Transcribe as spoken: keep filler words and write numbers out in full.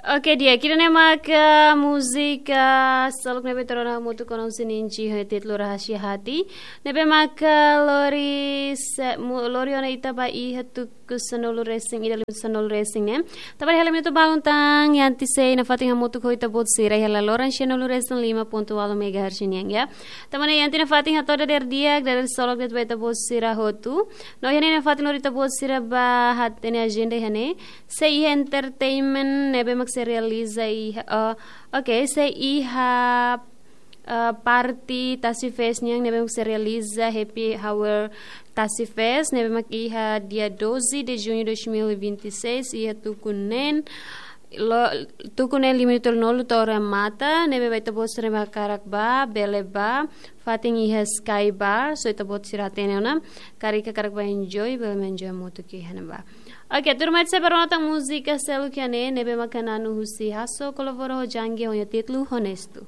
Oke, di'ak, ida-ne'e maka múzika seluk ne'ebé ita rona hamutuk ona husi Ninji ho títulu Rahasia Hati. Ne'ebé maka lori se-, mu-, lori ona ita ba iha tuku sanulu resin ida, lima sanulu resin ne'e. Tanba ne'e hela minutu balun tan, Yanti sei nafatin hamutuk ho ita-boot sira iha laloran sanulu resin lima pontu ualu megahertz nian, ya. Tanba ne'e Yanti nafatin hato'o dadeer di'ak, dadeer solok de'it ba ita-boot sira hotu. No iha ne'e nafatin lori ita-boot sira ba hatene ajenda iha ne'e. Sei iha entertainment ne'ebé mak sei realiza iha, oh, oke, sei iha, eh, parte Tasi Fest nian ne'ebé mak sei realiza Happy Hour Tasi Fest ne'ebé mak iha dia doze de junho de dois mil e vinte e seis iha tuku neen, lo, tuku neen lima minutu nulu to'o remata, ne'ebé ba ita-boot sira ne'ebé hakarak ba, bele ba, fatin iha Sky Bar, só ita-boot sira hatene ona, karik hakarak ba enjoy, bele mak enjoy hamutuk iha ne'ebá. Oke, tuirmai ita sei ba rona tan múzika seluk iha ne'e, ne'ebé maka na'an husi Hasso Kolovoro ho Jangge ho nia títulu Honestu.